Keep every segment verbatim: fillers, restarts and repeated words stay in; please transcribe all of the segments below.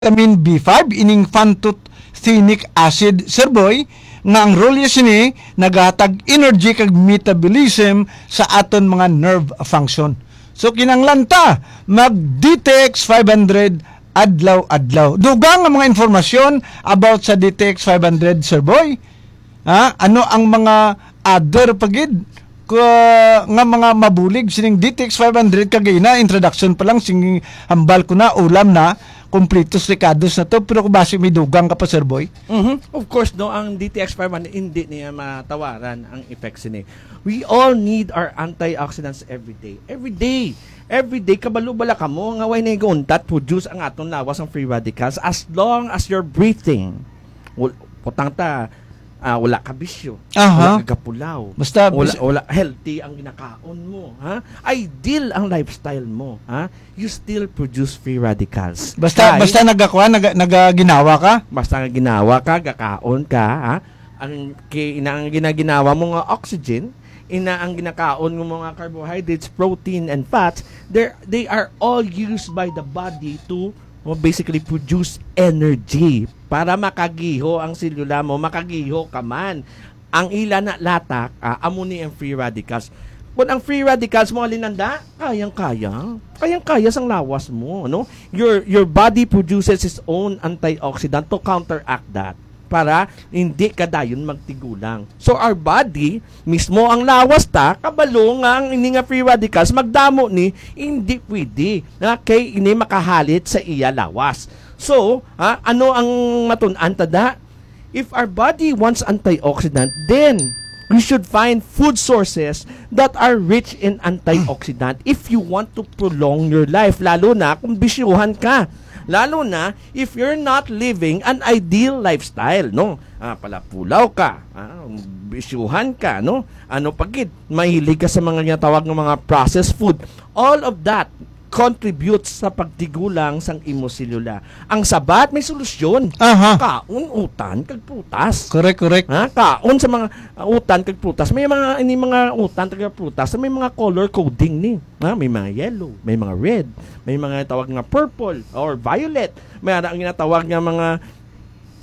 vitamin B five, ining pantothenic acid, Sir Boy, nga ang role niya sini nagahatag energy kag metabolism sa aton mga nerve function. So, kinahanglan ta mag D T X five hundred adlaw-adlaw. Dugang nga mga informasyon about sa D T X five hundred, Sir Boy. Ha? Ano ang mga other pa gid ka, nga mga mabulig sining D T X five hundred? Kagina, introduction pa lang, sing hambal ko na, ulam na, kumplitos, rekados na to, pero kung basi may dugang ka pa, Sir Boy. Mhm. Of course, no, ang D T X five hundred, hindi niya matawaran ang effects ini. We all need our antioxidants every day. Every day. Every day, kabalo bala kamo nga way nagauntat produce ang aton lawas ang free radicals as long as you're breathing. Wal-, putang ta, ah, wala ka bisyo. Aha. Wala ka gapulaw. Basta Wala, bis- wala healthy ang ginakaon mo, ha? Ideal ang lifestyle mo, ha? You still produce free radicals. Basta, Kay basta nagakuha, naga, nagaginawa ka? Basta nga ginawa ka, gakaon ka, ha? Ang ki-, ina ang ginaginawa mo nga oxygen, ina ang ginakaon mo nga carbohydrates, protein, and fats, they they are all used by the body to, well, basically produce energy para makagiho ang selula mo, makagiho ka man. Ang ila na latak, ah, amo ni ang free radicals. Kung ang free radicals mo, alinanda, kayang-kaya. Kayang-kaya sang lawas mo, no? Your, your body produces its own antioxidant to counteract that para hindi ka dayon magtigulang. So, our body, mismo ang lawas ta, kabalo nga ang ini nga free radicals, magdamo ni, hindi pwede. Na kay ini makahalit sa iya lawas. So, ha, ano ang matun-an ta da? If our body wants antioxidant, then we should find food sources that are rich in antioxidant if you want to prolong your life, lalo na kung bisyuhan ka. Lalo na if you're not living an ideal lifestyle, no? Ah, palapulaw ka, ah, bisyuhan ka, no? Ano pa gid, mahilig ka sa mga ginatawag nga mga processed food. All of that contributes sa pagtigulang sang imo selula. Ang sabat may solusyon. Aha. Kaon utan kag prutas. Correct, correct. Ha? Kaon sa mga, uh, utan kag prutas. May mga, ini mga utan kag prutas, may mga color coding ni. Ha? May mga yellow, may mga red, may mga tawag nga purple or violet. May ara ang ginatawag nga mga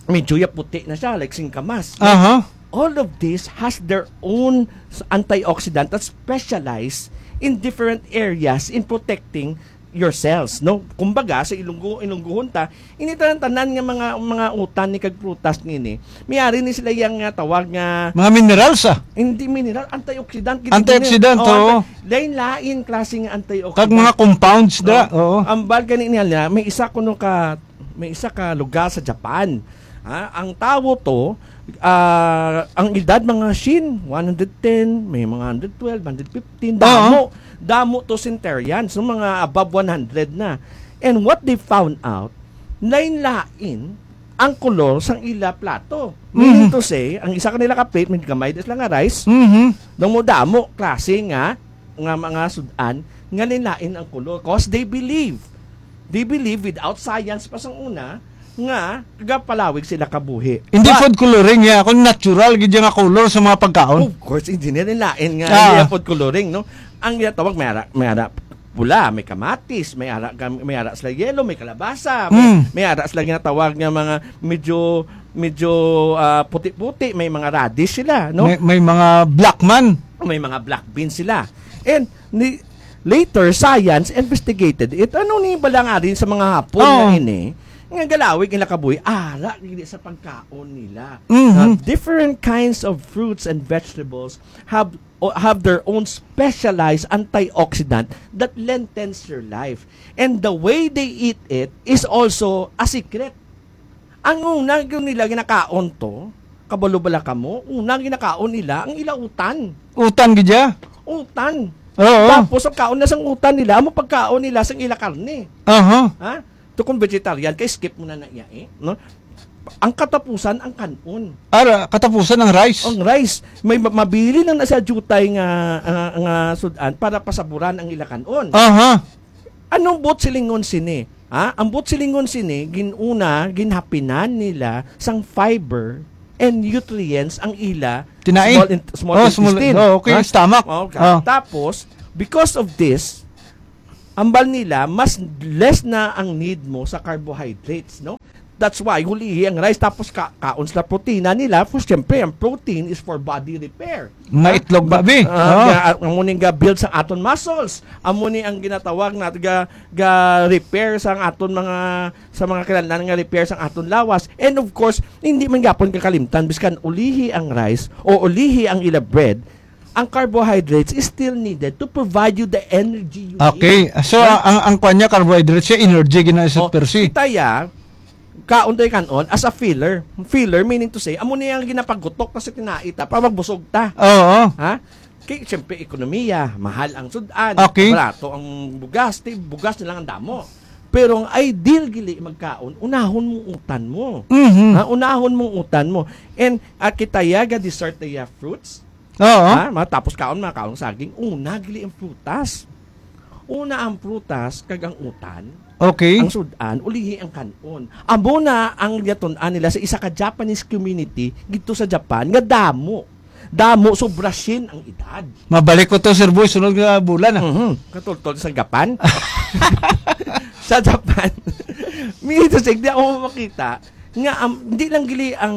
medyo ya puti na siya, like singkamas. Aha. All of this has their own s-, antioxidant that specialize in different areas in protecting your cells, no? Kumbaga, sa Ilonggo, Ilonggohon ta, ini tanan-tanan nga mga, mga utan ni kag prutas ngini, may ari ni sila yang nga tawag nga Mga minerals, ah. Hindi mineral, antioxidant. Gid Antioxidant, gid. Oo, oo. Anti-, lain-lain klase nga antioxidant. Kag mga compounds da, Oo. oo. Ambal gani niya, may isa kuno ka, may isa ka lugar sa Japan. Ha? Ang tawo to, ah, ang edad mga shin, one hundred ten, may mga hundred twelve, hundred fifteen, Oo. damo, damo to centenarians, no, mga above one hundred na. And what they found out, lain-lain ang kolor sang ila plato. Meaning Mhm. to say, ang isa kanila ka plate, may gamay da sila nga rice, Mhm. damo-damo klase nga, nga mga sud-an, nga lain-lain ang kolor. 'Cause they believe, they believe without science pa sang una, nga gapalawig sila kabuhi. Hindi But food coloring, ya. Kung natural, gid nga color sa mga pagkaon. Of course, hindi nila lain nga, Ah. hindi food coloring, no? Ang ginatawag, may ara, may ara pula, may kamatis, may ara, gam-, may ara sila yellow, may kalabasa, may, Mm. may ara sila ginatawag nga mga medyo, medyo, ah, puti-puti, may mga radish sila, no? May, may mga black man. May mga black beans sila. And ni, later, science investigated it. Ano ni balangarin sa mga Hapon Oo. nga ini? Nga galawig nila kabuhi, ara gid sa pagkaon nila. Mhm. Na different kinds of fruits and vegetables have, o, have their own specialized antioxidant that lengthens your life. And the way they eat it is also a secret. Ang una gyud nila ginakaon to, kabalo bala kamo, una ginakaon nila ang ila utan. Utan gid ya? Utan. Oo. Tapos ang kaon na sang utan nila, amo pagkaon nila sang ila karne. Aha. Ha? To kung vegetarian ka, skip mo na na iya, eh, no? Ang katapusan, ang kanon. Ara, katapusan ang rice. Ang rice. May ma-, mabili lang na sa jutay nga, nga, nga sudan para pasaburan ang ila kanon. Aha. Anong buot silingon sini? Ha? Ang buot silingon sini, ginuna, ginhapinan nila sang fiber and nutrients ang ila Kinain? small in-, small Oh, small, intestine. oh, okay, Ha? stomach. Oh, okay. Oh. Tapos, because of this, Ambal nila, mas less na ang need mo sa carbohydrates, no? That's why, hulihi ang rice, tapos ka kaon sila protina nila. For, siyempre, ang protein is for body repair. Mga Ha? itlog, Ba- babi. Ah, Oh. ga-, amo ning ga-build sa aton muscles. Amo ni ang ginatawag na ga, ga-repair sa aton mga, sa mga kinahanglan nga repair sa aton lawas. And of course, hindi man gapon kakalimtan, biskan ulihi ang rice o ulihi ang ila bread, ang carbohydrates is still needed to provide you the energy you Okay. need. So, Ha? ang, ang kwan niya, carbohydrates siya, energy gina sa Oh, per se. kita ya, kaon tayo kanon as a filler. Filler, meaning to say, amo niya ang ginapagutok ta sa tinai ta, para magbusog ta. Oo. Ha? Kay, siyempre, ekonomiya, mahal ang sudan, Okay. barato ang bugas, ti, bugas na lang ang damo. Pero ang ideal gili magkaon, unahon mo utan mo. Mhm. Ha? Unahon mo utan mo. And, ah, kita ya, ga dessert ya fruits. Oo. Ha? Matapos kaon, mga kaon saging, una gili ang prutas. Una ang prutas, kag ang utan, Okay. ang sudan, ulihi ang kanon. Amo na ang yatun-an nila sa isa ka Japanese community dito sa Japan nga damo. Damo, sobra sien ang edad. Mabalik ko to, Sir Boy, sunod nga bulan, ah. Mhm. Katultol sa Japan. Sa Japan. Minito sig, di ako makita nga, um, hindi lang gili ang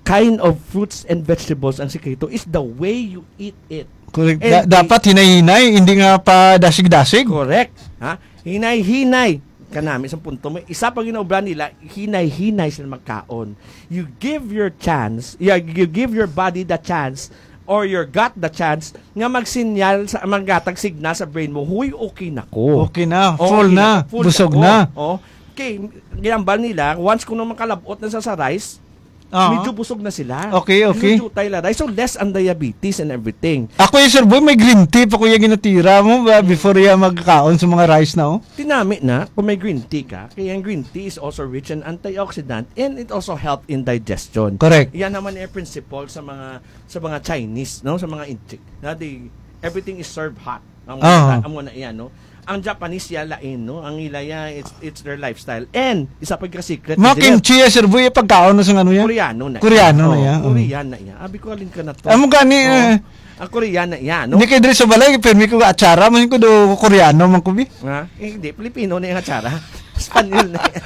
kind of fruits and vegetables ang sikreto, is the way you eat it. Correct. And Da-, the dapat hinay-hinay, hindi nga pa dasig-dasig. Correct. Ha? Hinay-hinay. Kanami sa punto mo. Isa pa ginaobra nila, hinay-hinay sila magkaon. You give your chance, yeah, you give your body the chance or your gut the chance nga magsinyal sa, maghatag signal sa brain mo, "Huy, okay na ko." Okay na, Oo, full okay na, na, full busog na ko. na. Oh. Okay, ginambal nila, once kuno makalabot na sa, sa rice, Oo. medyo busog na sila. Okay, okay. Medyo jutay la rice. So, less ang diabetes and everything. Ako yung, Sir Boy, may green tea pa ko yung ginatira mo ba, before yung magkaon sa mga rice na, oh? Tinami na, kung may green tea ka, kaya ang green tea is also rich in antioxidant and it also help in digestion. Correct. Yan naman yung principle sa mga, sa mga Chinese, no? Sa mga Inchik. Na they, everything is served hot. Ang Oo. Amo na yan, no? Ang Japanese ya lain, no? Ang ila ya, it's, it's their lifestyle. And, isa pa ka secret Mga nila, kimchi, eh, Sir Boy, eh, pagkaon na sa ano yan? Koreano na Koreano yan. na Oo, yan, oo. Korean na yan. Abi ko, alin ka na to? Amo gani, Oo. eh. Ang Korean na yan, no? Hindi kay diri sa balay, pirmi ko atsara, man ko do Koreano man ko, bi. Ha? Eh, hindi, Pilipino na yung atsara. Espanyol na yan.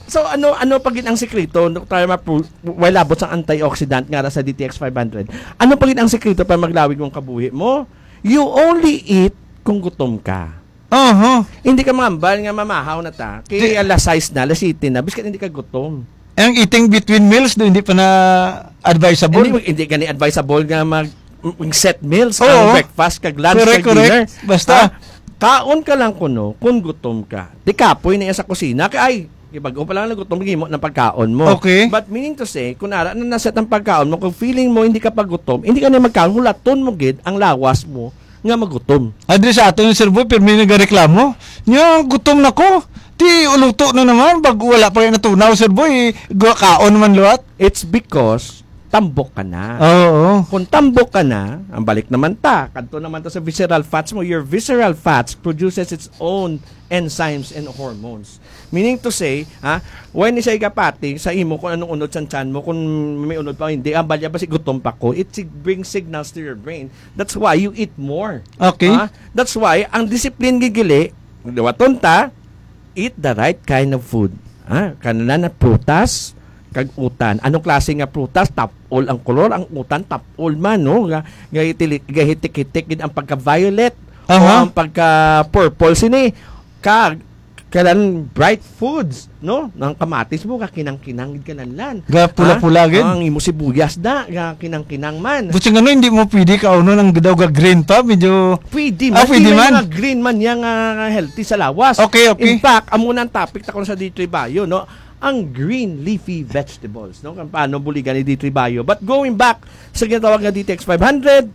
So, ano, ano pa gid ang sikreto, no, para ma-, while abot sa antioxidant nga ra sa D T X five hundred? Ano pa gid ang sikreto para maglawig mong kabuhi mo? You only eat kung gutom ka. Aha. Hindi ka mangambal nga mamahaw na ta. Kay Di- alas sais na, alas siyete na, biskan hindi ka gutom. Ang eating between meals, do, hindi pa na advisable? Hindi, hindi gani advisable nga mag, mag set meals, Oo. ang breakfast, kag lunch, Correct, kag correct. dinner. Basta Ha? Kaon ka lang kuno kung gutom ka. Di kapoy na iya sa kusina. Kay, ay, bag-o pa lang nagutom, gimo ng pagkaon mo. Okay. But meaning to say, kung ara na naset ang pagkaon mo, kung feeling mo hindi ka pagutom, hindi ka na magkaon, hulaton mo gid ang lawas mo nga magutom. Adri sa aton yung Sir Boy, pirmi nagareklamo. Nya, gutom na ko. Ti, uluto na naman, pag wala pa kayo natunaw, Sir Boy, gu-, kaon naman luwat. It's because tambok ka na. Oo. Kung tambok ka na, ang balik naman ta, kadto naman ta sa visceral fats mo, your visceral fats produces its own enzymes and hormones. Meaning to say, ha, when siya igapati sa imo kung anong unod sa tiyan mo, kung may unod pa o hindi, ang balya ba si gutom pa ko, it sig-, brings signals to your brain. That's why you eat more. Okay. Ha? That's why, ang discipline gigili, liwaton ta, eat the right kind of food. Ha? Kanana na prutas, kag utan. Anong klase nga prutas? Tap-ol ang kolor, ang utan tap-ol man, no? Ga-, gahitili-, gahitik-hitik gid ang pagka-violet o Aha. ang pagka-purple sini. Kag kanan bright foods, no? Ang kamatis mo, kakinang-kinang gid kananlan. Ga pula-pula Ha? gid. Ang imo sibuyas da, kakinang-kinang man. Buti nga, no, hindi mo pwede kaunon ang daw ga green pa, medyo Pwede Ah, man. pwede Di man man. mga green man yang, ah, healthy sa lawas. Okay, okay. In fact, amo na ang topic ta kung sa D three Bio, no? Ang green leafy vegetables, no? Kung paano buligan ni D three Bio. But going back sa ginatawag nga D T X five hundred,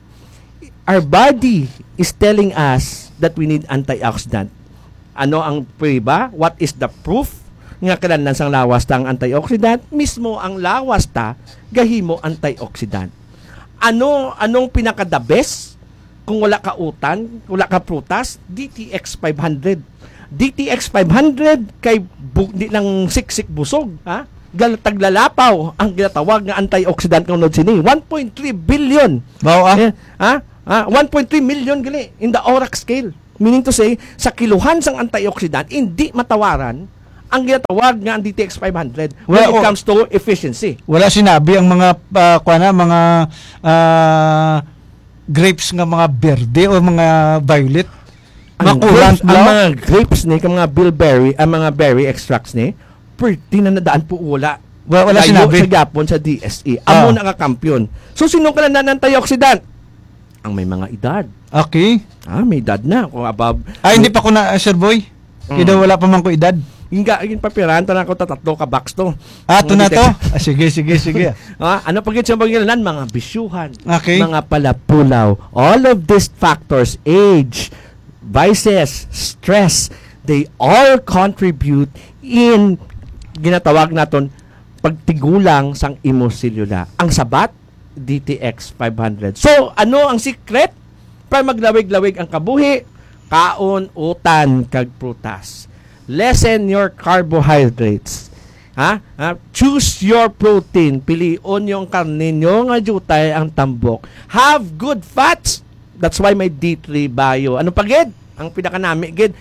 our body is telling us that we need antioxidant. Ano ang prueba? What is the proof nga kinahanglan sang lawas ta ang antioxidant? Mismo ang lawas ta gahimo antioxidant. Ano, anong pinaka the best kung wala ka utan, wala ka prutas? D T X five hundred. D T X five hundred kay bu-, di lang siksik busog, ha? Gal-, taglalapaw ang ginatawag nga antioxidant nga unod sini. One point three billion. Mao, ah. Eh, ha? Ha? One point three million gali in the ORAC scale. Meaning to say, sa kiluhan sang antioxidant, hindi matawaran ang ginatawag nga ang D T X five hundred when Well, it o- comes to efficiency. Wala sinabi ang mga, ah, kuwan na, mga, ah, grapes nga mga berde o mga violet. Ang Makulang grapes, ang daw. mga grapes ni, ang mga bilberry, ang mga berry extracts ni, pwede na nadaan po, wala. Wa-, wala Layo sinabi. sa gyapon sa D S E. Ah. Amo na nga kampiyon. So, sino ka na antioxidant? Ang may mga edad. Okay. Ah, may edad na. Kung above, Ah, hindi may pa ko na, ah, Sir Boy. Mm. Kida wala pa man ko edad. Yung ga-, yung papirahan, tanan ko, tatatlo ka box to. Ah, ito Hindi na to? ka- Ah, sige, sige, sige. Ah, ano pa gid siya pangilanan? Mga bisyuhan, Okay. mga palapulaw. All of these factors, age, vices, stress, they all contribute in ginatawag naton pagtigulang sang imo selula. Ang sabat, D T X five hundred. So, ano ang secret para maglawig-lawig ang kabuhi? Kaon utan kag prutas. Lessen your carbohydrates. Ha? Ha? Choose your protein. Pilion yung karne nyo nga jutay ang tambok. Have good fats. That's why may D three Bio. Ano pa gid? Ang pinakanami gid,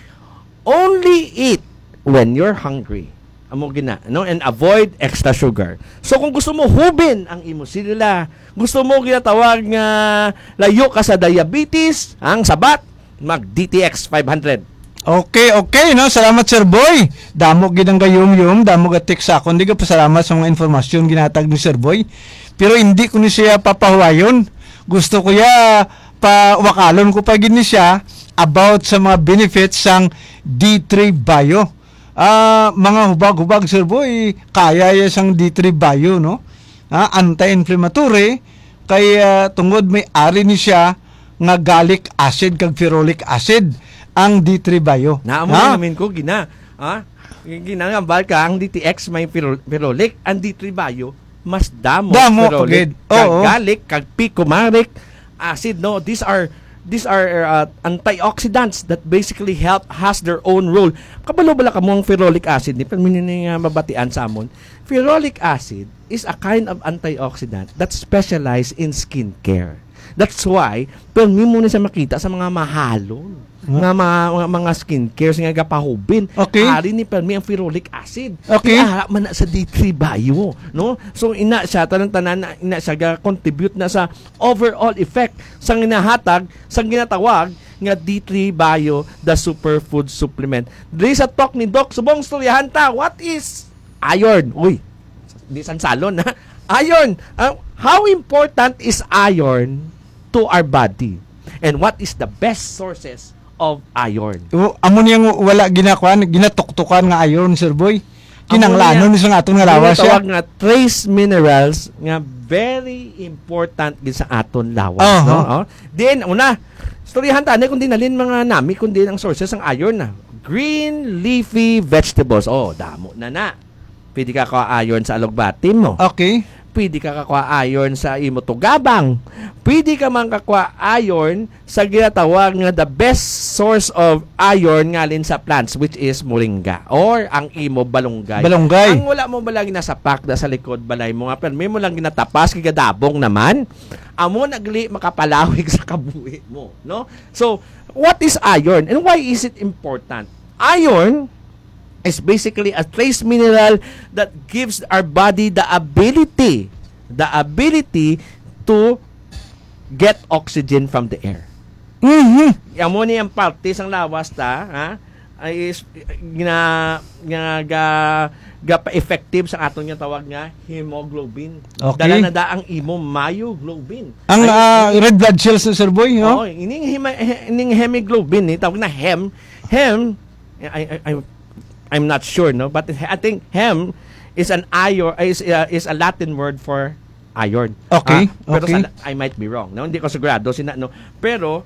only eat when you're hungry. Amo gina, no? And avoid extra sugar. So, kung gusto mo hubin ang imo selula, gusto mo ginatawag nga layo ka sa diabetes, ang sabat, mag D T X five hundred. Okay, okay, no? Salamat, Sir Boy. Damo gid ang gayum-yum, damo ga text sa akon. Di ka pasalamat sa mga informasyon ginatag ni Sir Boy. Pero hindi ko ni siya papahuwayon. Gusto ko ya pawakalon ko pa gid ni siya about sa mga benefits sang D three Bio. Ah, mga hubag-hubag, Sir Boy, kaya ya sang D three Bio, no? Ah, anti-inflammatory, kay, ah, tungod may ari ni siya nga gallic acid kag ferulic acid ang D three Bio. Naa mo Ha? na namin ko, gina. Ha? Ginangambal ka, ang D T X may ferol-, ferulic, ang D three Bio, mas damo Damo, ferulic, pagid. kag Oo. gallic, kag picomaric acid, no? These are, these are, uh, antioxidants that basically help, has their own role. Kabalo bala kamo ang ferulic acid ni, pero mini nga mabatian sa amon. Ferulic acid is a kind of antioxidant that specialize in skincare. That's why, permi mo na siya makita sa mga mahalon Nga? nga mga, mga, mga skincare nga gapahubin. Okay. Ari ni permi ang ferulic acid. Okay. Kaya man na sa D three Bio, no? So, ina siya, tanan-tanan na, ina siya ga-contribute na sa overall effect sa ginahatag, sa ginatawag nga D three Bio, the superfood supplement. Diri sa talk ni Doc Subong, istoryahan ta, what is iron? Uy, di sansalon, ha? Iron. Ah, how important is iron to our body? And what is the best sources of iron? O, amo niyang wala ginakuan, ginatuktukan nga iron, Sir Boy. Amo Kinanglanon niya, ni sa aton nga lawas siya. Ginatawag nga trace minerals nga very important gid sa aton lawas, Aha. no? Oh. Then, una, istoryahan ta ni kung din halin mga nami, kung din ang sources sang iron na. Green leafy vegetables. Oh, damo na na. Pwede ka kuha iron sa alugbati mo. Okay. Pwede ka kakuha iron sa imo tugabang. Pwede ka man kakuha iron sa ginatawag nga the best source of iron ngalin sa plants, which is moringa or ang imo balunggay. Balunggay. Ang wala mo bala ginasapak da sa likod balay mo nga permi mo lang ginatapas kay gadabong naman. Amo nagli makapalawig sa kabuhi mo, no? So, what is iron and why is it important? Iron is basically a trace mineral that gives our body the ability, the ability to get oxygen from the air. Mhm. Amo ni ang parte sang lawas ta, ha? Ay is gina, gina ga, ga pa-effective sa aton nga tawag nga hemoglobin. Okay. Dala na da ang imo myoglobin. Ang, Ay, ah, ini red blood cells, Sir Boy, no? Oo, ining hema-, he-, ining hemoglobin, eh, tawag na hem. Hem, I, I, I, I'm not sure, no? But I think hem is an iron, is, uh, is a Latin word for iron. Okay, Ah, pero okay. sa, I might be wrong, no? Hindi ko sigurado, sina, no? Pero,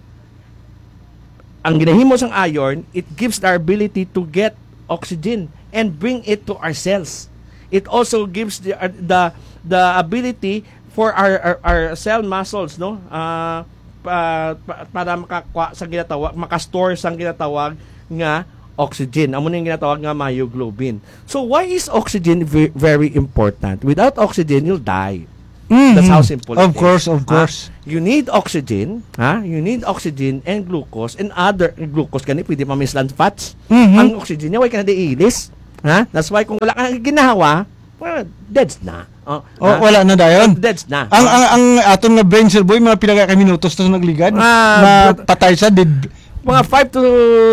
ang ginahimo sang iron, it gives the ability to get oxygen and bring it to our cells. It also gives the, uh, the, the ability for our, our, our cell muscles, no? Ah, pa, pa, para makakuha sa ginatawag, makastore sa ginatawag nga oxygen. Amo na yung ginatawag nga myoglobin. So, why is oxygen ve-, very important? Without oxygen, you'll die. Mhm. That's how simple Of it is. course, of Ha? course. You need oxygen, ha? You need oxygen and glucose and other glucose, kani pwede pa mislan fats. Mhm. Ang oxygen niya, wala ka na diilis. Ha? That's why kung wala ka ginahawa, well, deads na. Oh, Oh, ha? Wala na dayon. Deads na. Ang ang ang aton nga brain, Sir Boy, mga pila ka minutos to nagligad? Ah, Mapatay sa did. Mga five to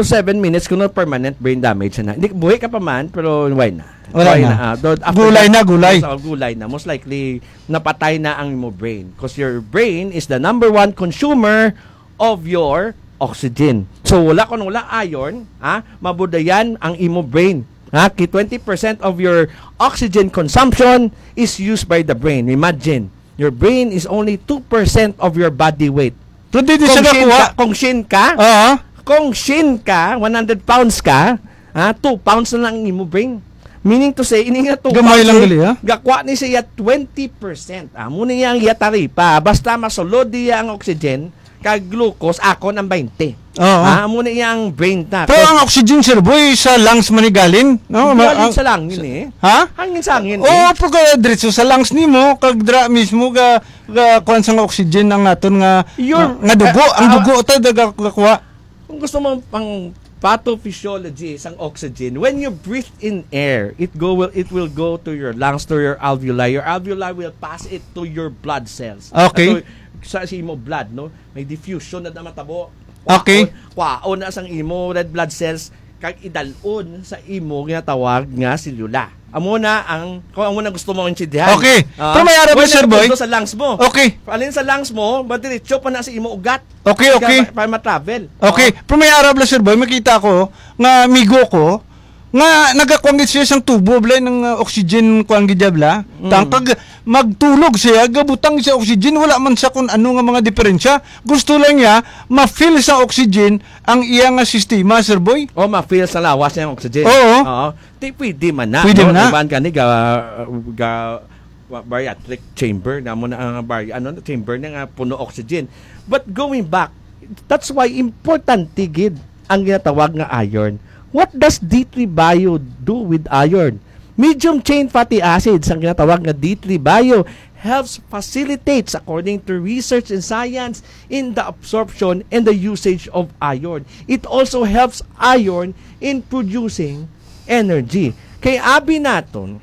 seven minutes kung permanent brain damage na. Hindi, buhi ka pa man, pero why na? Wala Why na. Ah, though, after Gulay that, na, gulay. Yes, oh, gulay na. Most likely, napatay na ang imo brain. Because your brain is the number one consumer of your oxygen. So, wala kung wala iron, ha? Mabudayan ang imo brain. Ha? Ki twenty percent of your oxygen consumption is used by the brain. Imagine, your brain is only two percent of your body weight. Pero di, di siya Kung shin nakuha. ka, kung shin ka, Oo. kung shin ka, one hundred pounds ka, ha, two pounds na lang ang imo brain. Meaning to say, ini nga two Gamay pounds, lang eh, gali, ha? Gakwa ni siya twenty percent. Amo ni ang iya taripa. Basta masulod niya ang oxygen, kag glucose, akon ang twenty. Oo. Ha, amo ni ang brain na. Pero ang oxygen, Sir Boy, sa lungs man ni galing, no? Hindi Ma- galing ang- sa langin eh. Ha? Hangin sa hangin Oo, eh. pagka diretso sa lungs nimo, kag dra mismo ga ga kuan sang oxygen ang naton nga Your- nga, nga dugo, ang ah, dugo ta daga kuha. Kung gusto mo pang pathophysiology sang oxygen, when you breathe in air, it go will it will go to your lungs, to your alveoli. Your alveoli will pass it to your blood cells. Okay. So, sa, sa imo blood, no? May diffusion na matabo. Okay. Kwaon, kwaon na sang imo red blood cells kag idalon sa imo ginatawag nga selula. Amo na ang kung amo na gusto mo intindihan. Okay. Ah, Pero may arab wala na, Sir na Boy. pundo sa lungs mo. Okay. Alin sa lungs mo, madiretso pa na sa imo ugat. Okay, okay. Para, para ma-travel. Okay, pero may arab lang, Sir Boy, makita ko nga migo ko nga nagakuan gid siya sang tubo bla ng uh, oxygen kuan gid bla. Mm. Tang pag magtulog siya, gabutang siya oxygen, wala man sa kun ano nga mga diferensya. Gusto lang niya ma-fill sa oxygen ang iya nga sistema, Sir Boy. O ma-fill sa lawas niya ang oxygen. Oo. Oo. Di pwede man na. Pwede No? man na. Iban ka ni ga, ga wa- bariatric chamber na mo na ang bari ano na chamber na nga puno oxygen. But going back, that's why importante gid ang ginatawag nga iron. What does D three Bio do with iron? Medium chain fatty acids ang ginatawag nga D three Bio helps facilitates, according to research and science, in the absorption and the usage of iron. It also helps iron in producing energy. Kay abi naton,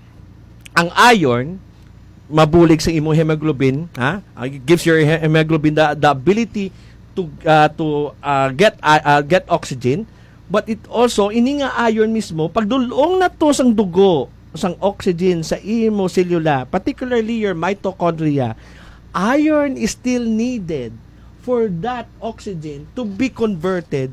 ang iron mabulig sa imong hemoglobin, ha? Uh, it gives your he- hemoglobin the, the ability to uh, to uh, get uh, uh, get oxygen, but it also, ini nga iron mismo, pagdulong na to sang dugo, sang oxygen sa imo selula, particularly your mitochondria, iron is still needed for that oxygen to be converted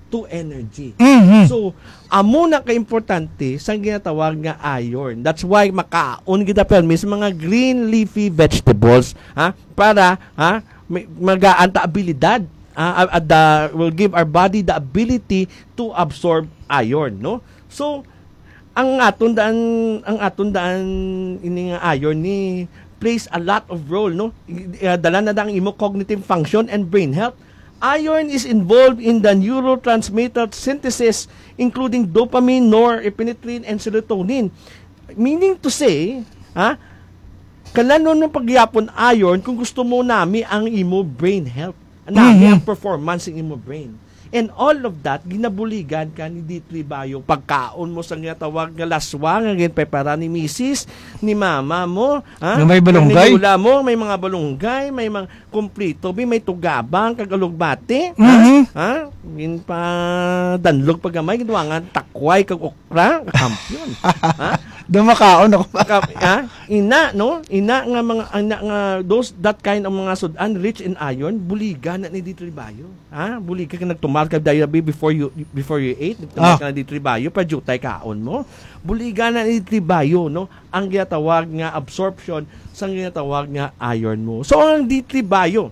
to energy. Mhm. So, amo na ka importante sang ginatawag nga iron. That's why makaon kita permi sa mga green leafy vegetables, ha, para, ha, may- magaan ta abilidad, ha, at the, will give our body the ability to absorb iron, no? So, ang aton daan, ang aton daan ini nga iron ni plays a lot of role, no? I- uh, dala na dang imo cognitive function and brain health. Iron is involved in the neurotransmitter synthesis, including dopamine, norepinephrine, and serotonin. Meaning to say, ha, kalanon mo pagyapon iron kung gusto mo nami ang imo brain health, nami Mhm. ang performance ng imo brain. And all of that, ginabuligan ka ni D three Bio. Pagkaon mo sa nga tawag nga laswa nga ginprepara ni misis, ni mama mo, ha? Nga may balunggay? Ni lola mo, may mga balunggay, may mga kumplito, bi, may tugabang, kag alugbati, ha? Mhm. Ha? Ginpadanlog pa gamay, ginduwangan takway kag okra, kampiyon. Ha? Dumakaon ako. Kap- ha? Ina, no? Ina nga mga, ina nga, those, that kind of mga sudan rich in iron, buligan na ni D three Bio. Ha? Buligan ka nagtumal ka diabetes before you, before you ate, nagtumal Ah. ka na D three Bio, pa jutay kaon mo. Buligan na ni D three Bio, no? Ang ginatawag nga absorption sa ginatawag nga iron mo. So, ang D three Bio,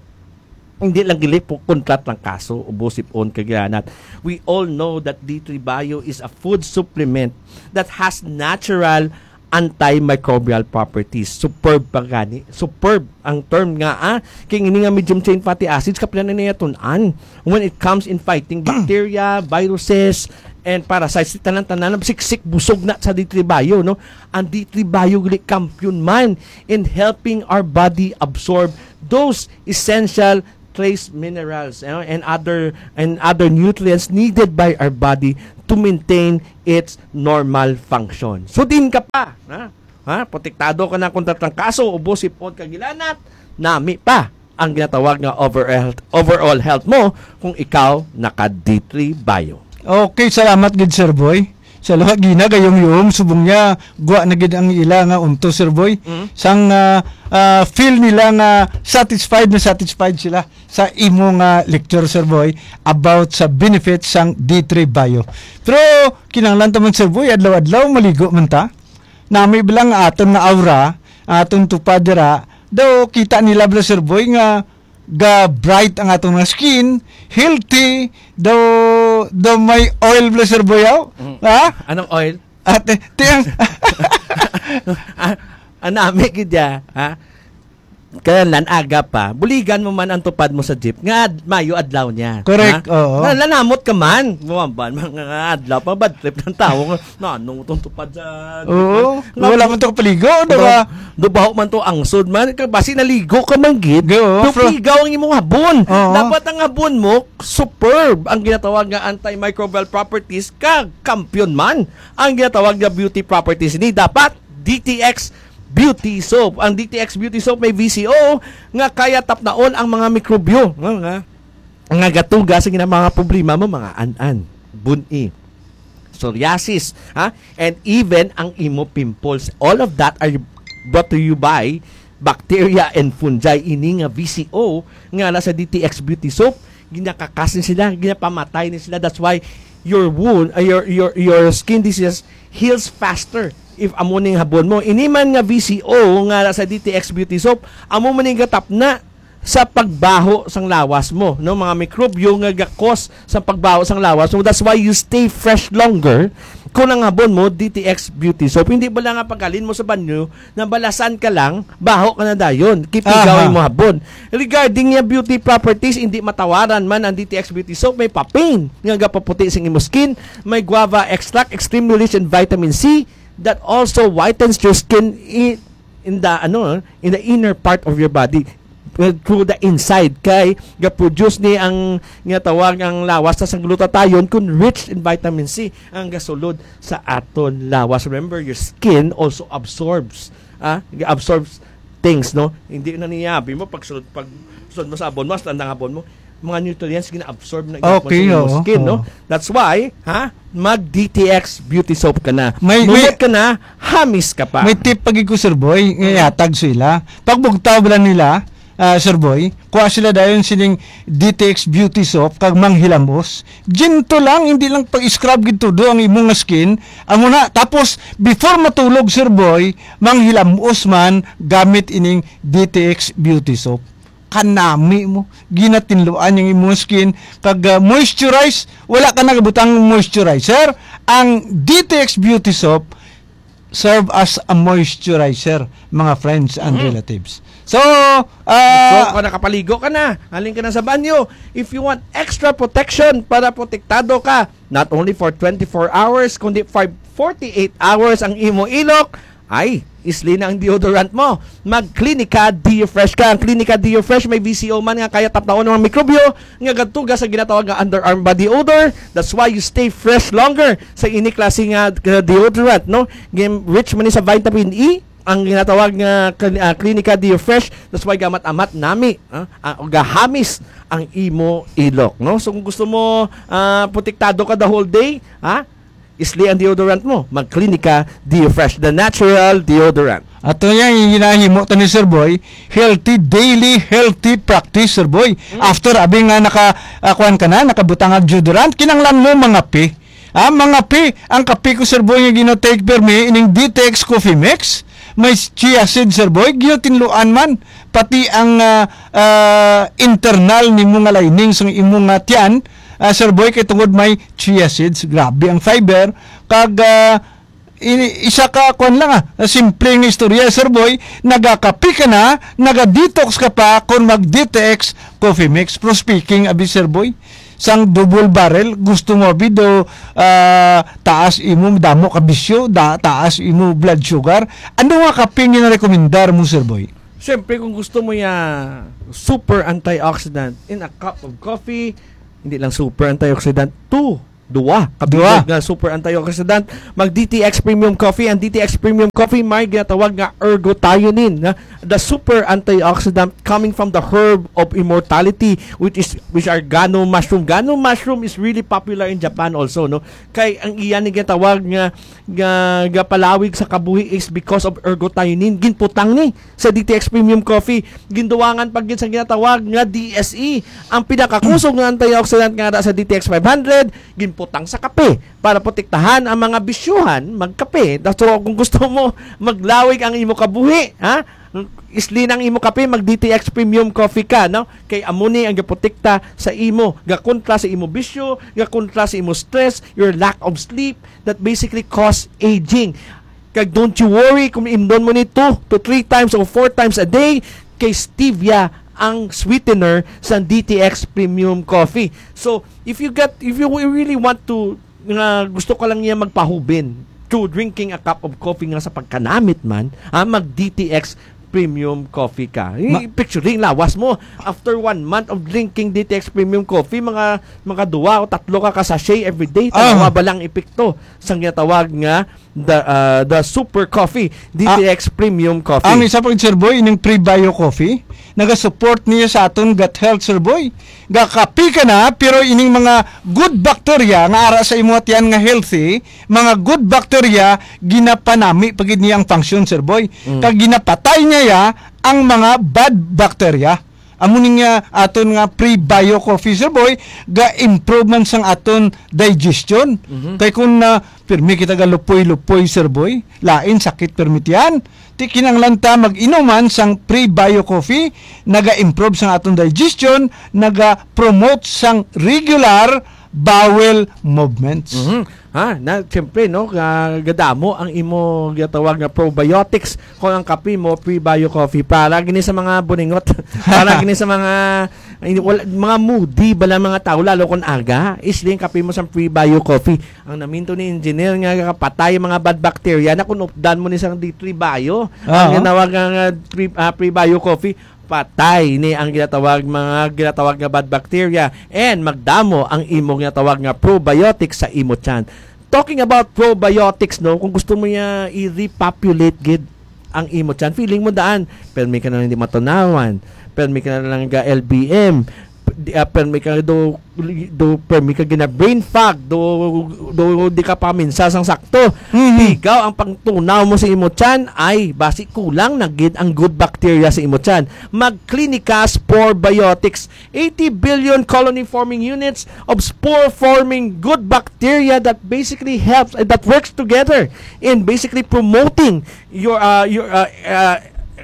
hindi lang gili po kontrat lang kaso, ubos ipon kagyanat. We all know that D three Bio is a food supplement that has natural antimicrobial properties. Superb pa gani. Superb ang term nga, ah. Kay ini nga medium chain fatty acids, kapila na niya tun-an when it comes in fighting bacteria, viruses, and parasites, tanan-tanan, siksik, busog na sa D three Bio, no? Ang D three Bio gali kampiyon man in helping our body absorb those essential trace minerals, you know, and other, and other nutrients needed by our body to maintain its normal function. So, din ka pa, ha? Ha? Protektado ka na kontra trangkaso, ubo, sipon, kag hilanat. Nami pa ang ginatawag nga overall, overall health mo kung ikaw naka D three Bio. Okay, salamat gid, Sir Boy. Sa luha, ginagayom-yom, subong niya, gwa na gid ang ila nga unto, Sir Boy. Mm. Sang, ah, ah, feel nila nga satisfied na satisfied sila sa imo nga lecture, Sir Boy, about sa benefits sang D three Bio. Pero kinahanglan ta man, Sir Boy, adlaw-adlaw maligo man ta. Nami ba lang aton nga aura, aton tupad dira, daw kita nila bala, Sir Boy, nga ga bright ang aton nga skin, healthy, daw, daw may oil bala, Sir Boy, aw? Mm. Ha? Anong oil? Ate, tiyang Ah, anami gid ya, ha? Kaya lan aga pa, buligan mo man ang tupad mo sa jeep nga ad- mayo adlaw niya. Correct, Ha? oo. Na, lanamot ka man. Buwamban, mga adlaw pa, bad trip ng tao nga, na, anong itong tupad sa jeep? Oo, Nga, wala man to kapaligo, di ba? Dubaho man to angsod man. Ka- Basi naligo ka man gid. Go, Pero fro- pigaw ang imong habon. Oo. Dapat ang habon mo, superb. Ang ginatawag nga antimicrobial properties, ka kampiyon man. Ang ginatawag nga beauty properties ni dapat D T X Beauty Soap. Ang D T X Beauty Soap may V C O nga kaya tapnaon ang mga mikrobyo nga, nga, nga gatuga sa gina-, mga problema mo, mga an-an, buni, psoriasis, ha? And even ang imo pimples. All of that are brought to you by bacteria and fungi. Ini nga V C O nga na sa D T X Beauty Soap, ginakakas ni sila, ginapamatay ni sila. That's why your wound, uh, your, your, your skin diseases heals faster if amo ning habon mo. Ini man nga V C O nga na sa D T X Beauty Soap, amo man ning gatapna sa pagbaho sang lawas mo, no? Mga mikrobyo nga gakos sa pagbaho sang lawas mo. That's why you stay fresh longer kung ang habon mo, D T X Beauty Soap. Hindi ba lang nga paghalin mo sa banyo, nabalasan ka lang, baho ka na dayon. Kipigaw Aha. Mo habon. Regarding niya beauty properties, hindi matawaran man ang D T X Beauty Soap. May papain nga gapaputi sing imo skin. May guava extract, extremely rich in vitamin C that also whitens your skin in, in the, ano, in the inner part of your body. Well, through the inside, kay ga-produce ni ang nga tawag ang lawas sa glutathione kun rich in vitamin C ang gasulod sa aton lawas. Remember, your skin also absorbs, ah, absorbs things, no? Hindi na niya, abi mo, pag sulod, pag sulod mo sa abon mo, hasta ang abon mo, mga nutrients gina-absorb na gihapon Okay, sa imong oo, skin, no? Oo. That's why, ha? Mag D T X Beauty Soap ka na. May, Mumot may, ka na, hamis ka pa. May tip pa gid ko, Sir Boy, nga Mm. ihatag sa ila. Pagbugtaw bala nila, ah, Sir Boy, kuha sila dayon sining D T X Beauty Soap kag manghilamos. Ginto lang, hindi lang pag-scrub gid todo ang imong skin. Amo na, tapos before matulog, Sir Boy, manghilamos man gamit ining D T X Beauty Soap. Kanami mo, ginatinluan yung imong skin, kag, ah, moisturize, wala ka nagabutang moisturizer. Ang D T X Beauty Soap serve as a moisturizer, mga friends and Mm. relatives. So, So, ah, kung nakapaligo ka na, halin ka na sa banyo, if you want extra protection para protektado ka, not only for twenty-four hours, kundi for forty-eight hours ang imo ilok, ay, isli na ang deodorant mo. Mag Clinica Deo Fresh ka. Ang Clinica Deo Fresh may V C O man nga kaya tapnaon ng mga mikrobyo nga gatuga sa ginatawag nga underarm body odor. That's why you stay fresh longer sa ini klase nga, uh, deodorant, no? Gin-, rich man ni sa vitamin E, ang ginatawag nga Cli-, ah, Clinica Deo Fresh. That's why gamat-amat nami, ah, ah, o gahamis ang imo ilok, no? So kung gusto mo, ah, protektado ka the whole day, ha? Isli ang deodorant mo. Mag Clinica Deo Fresh, the natural deodorant. Ato niya yung ginahimo to ni Sir Boy, healthy daily, healthy practice, Sir Boy. Mm. After, abi nga naka, ah, kuwan ka na, nakabutang ang deodorant, kinanglan mo mangape. Ah, mangape, ang kape ko, Sir Boy, nga gina-take permi, ining D T X Coffee Mix, may chia seed, Sir Boy, ginatinluan man, pati ang, ah, ah, internal nimo nga lining sa imo nga tiyan, ah, Sir Boy, kay tungod may chia seeds, grabe ang fiber, kag, ah, ini, isa ka, kwan lang, ah, simple nga istorya, Sir Boy, nagakape ka na, naga-detox ka pa kung mag-D T X Coffee Mix. Pero speaking, abi, Sir Boy, sang double barrel, gusto mo abi do, ah, taas imo damo ka bisyo, da, taas imo blood sugar. Ano nga kape nga rekomendar mo, Sir Boy? Siyempre, kung gusto mo ya super antioxidant in a cup of coffee, hindi lang super antioxidant, two, duwa, Duwa. kabilog nga super antioxidant, mag D T X Premium Coffee. Ang D T X Premium Coffee may ginatawag nga ergothioneine, na the super antioxidant coming from the herb of immortality, which is, which are gano mushroom. Gano mushroom is really popular in Japan also, no? Kay ang iya ni ginatawag nga, nga, nga palawig sa kabuhi is because of ergothioneine. Ginputang ni sa D T X Premium Coffee. Ginduwangan pa gid sa ginatawag nga D S E. Ang pinakakusog nga antioxidant nga sa D T X five hundred, ginputang sa kape para protektahan ang mga bisyuhan magkape. So, kung gusto mo maglawig ang imo kabuhi, ha? Isli ang imo kape, mag D T X Premium Coffee ka, no? Kay amo ni ang gaprotekta sa imo, gakontra sa imo bisyo, gakontra sa imo stress, your lack of sleep, that basically cause aging. Kag don't you worry kung imnon mo ni two to three times or four times a day, kay stevia ang sweetener sa D T X Premium Coffee. So, if you get, if you really want to, nga gusto ka lang niya magpahubin through drinking a cup of coffee nga sa pagkanamit man, ah, mag D T X Premium Coffee ka. I- Ma- picturing lawas mo, after one month of drinking D T X Premium Coffee, mga, mga duwa o tatlo ka ka sachet every day, Ah. tanawa ba lang epekto sang ginatawag nga the, ah, the Super Coffee, Ah. D T X Premium Coffee? Ang isa pa, Sir Boy, ining Prebio Coffee, naga-support niya sa aton gut health, Sir Boy. Gakapi ka na, pero ining mga good bacteria nga ara sa imo tiyan nga healthy, mga good bacteria, ginapanami pa gid niya ang function, Sir Boy. Mm. Kag ginapatay niya ya ang mga bad bacteria. Amo ning, ah, aton nga Prebio Coffee, Sir Boy, ga-improve man sang aton digestion. Mhm. Kay kung, ah, pirmi kita galupoy-lupoy, Sir Boy, lain sakit pirmi tiyan. Ti kinahanglan ta mag-inuman sang Prebio Coffee, naga-improve sang aton digestion, naga-promote sang regular bowel movements. Mhm. Ha, na, siyempre, no, ga-, gadamo ang imo gatawag nga probiotics kung ang kape mo, Prebio Coffee. Para gini sa mga buningot, para gini sa mga, ay, wala, mga moody bala mga tao, lalo kung aga, isli ang kape mo sa Prebio Coffee. Ang naminto ni engineer nga kapatay ang mga bad bacteria na kung updan mo ni sang D three Bio, ang Aha. ginawag nga, nga pre-, ah, Prebio Coffee, patay ni ang ginatawag, mga ginatawag nga bad bacteria, and magdamo ang imo ginatawag nga probiotics sa imo tiyan. Talking about probiotics, no, kung gusto mo niya i-repopulate gid ang imo tiyan, feeling mo daan, permi ka na lang di matunawan, permi ka na lang ga L B M, di, ah, permi ka do, do, permi ka gina brain fog, do, do di ka paminsa sang sakto. Mhm. Tigaw ang pangtunaw mo sa imo tiyan, ay basi kulang na gid ang good bacteria sa imo tiyan. Mag Clinica Spore Biotics, eighty billion colony forming units of spore forming good bacteria that basically helps, uh, that works together in basically promoting your, uh, your, uh, uh,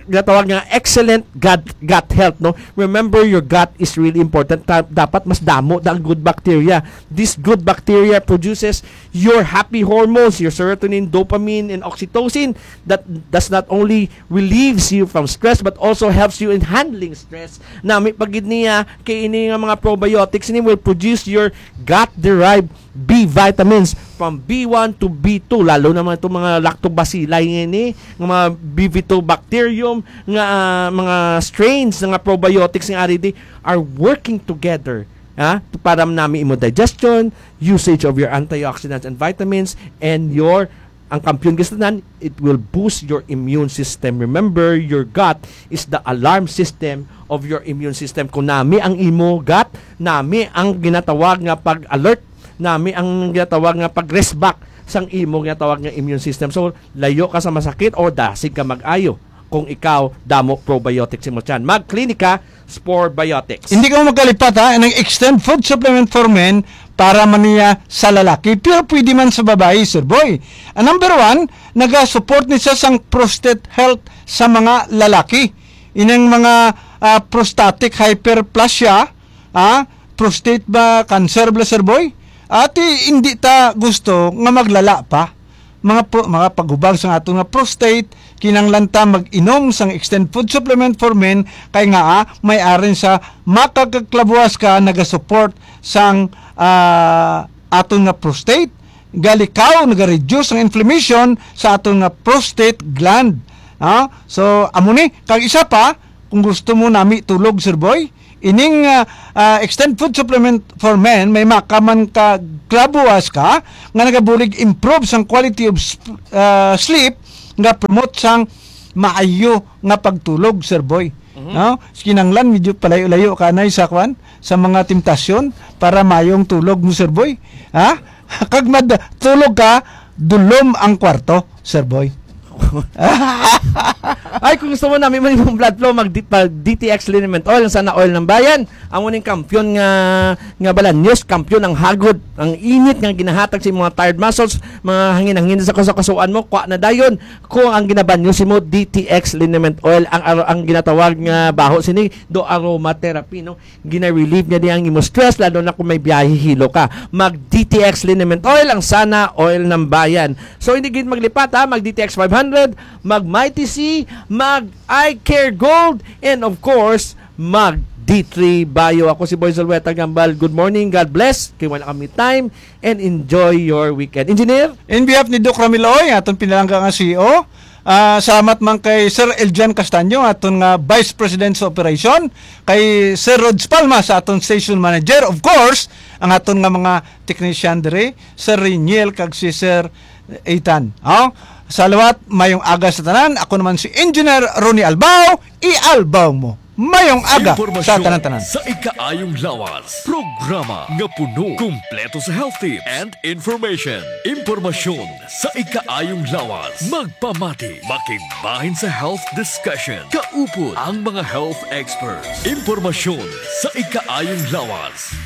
gatawag nga excellent gut, gut health, no? Remember, your gut is really important. Ta-, dapat mas damo ang good bacteria. This good bacteria produces your happy hormones, your serotonin, dopamine, and oxytocin that does not only relieves you from stress but also helps you in handling stress. Nami pa gid niya kay ini nga mga probiotics ini will produce your gut-derived B vitamins from B one to B two, lalo na mga itong mga lactobacilli ini, nga mga Bifidobacterium, nga, ah, mga strains nga probiotics nga ari di are working together, ha, para nami imo digestion, usage of your antioxidants and vitamins, and your, ang kampiyon gid sa tanan, it will boost your immune system. Remember, your gut is the alarm system of your immune system. Kung nami ang imo gut, nami ang ginatawag nga pag-alert, nami ang ginatawag nga pag-respond sang imo ginatawag nga immune system. So, layo ka sa masakit o dasig ka mag-ayo kung ikaw damo probiotics sa imo tiyan. Mag Clinica Spore Biotics. Hindi ka magkalipat, ha, ng extend food supplement for men para man niya sa lalaki, pero pwede man sa babayi, Sir Boy. Ang number one, naga-support ni siya sang prostate health sa mga lalaki. Inang mga, ah, prostatic hyperplasia, ah, prostate ba, cancer bala, Sir Boy? Ati, hindi ta gusto nga maglala pa. mga pro-, mga paghubag sa aton nga prostate, kinahanglan ta mag-inom sang Extend Food Supplement for Men, kay nga, ah, may arin sa makakaklabuwas ka nagasupport sang, ah, aton nga prostate, galikaw, nagareduce ang inflammation sa aton nga prostate gland. Ah, so amo ni, kag isa pa, kung gusto mo nami tulog, Sir Boy, ining, ah, ah, Extend Food Supplement for Men, may makaman ka klabuas ka nga nagabulig improve sang quality of sp-, ah, sleep, nga promote sang maayo nga pagtulog, Sir Boy. Mhm. No? Kinahanglan medyo palayo-layo ka na sa kwan, sa mga temptasyon para mayong tulog mo, Sir Boy. Ha? Kag mad tulog ka, dulom ang kwarto, Sir Boy. Ay, kung gusto mo namin man yung blood flow, mag D T X Liniment Oil, sana oil ng bayan. Amo ning kampiyon nga, nga balanyos, kampiyon ang hagod, ang init nga ginahatag sa mga tired muscles, mga hangin-hangin sa kasukasuan mo, kwa na dayon. Kung ang ginabanyo si mo, D T X Liniment Oil, ang, aro- ang ginatawag nga baho sini, do aromatherapy, no? Gina-relieve niya di ang imo stress, lalo na kung may biyahe hilo ka. Mag D T X Liniment Oil, ang sana oil ng bayan. So, hindi gid maglipat, ha? Mag D T X five hundred, mag Mighty C, mag Eye Care Gold, and of course, mag D three Bio. Ako si Boy Zalweta Gambal. Good morning, God bless. Kay wala kami time, and enjoy your weekend. Engineer? In behalf ni Doc Ramil Oy, aton pinalangga nga C E O, ah, salamat man kay Sir Eljan Castaño, aton nga Vice President sa Operation, kay Sir Rods Palma sa aton Station Manager, of course, ang aton nga mga technician diri, Sir Reniel kag si Sir Ethan. Oh, salawat, mayong aga sa tanan. Ako naman si Engineer Ronnie Albao. Ialbaw mo. Mayong aga sa tanan-tanan. Sa ikaayong lawas, programa nga puno, kumpleto sa health tips and information. Impormasyon sa ikaayong lawas. Magpamati, makigbahin sa health discussion. Kaupod ang mga health experts. Impormasyon sa ikaayong lawas.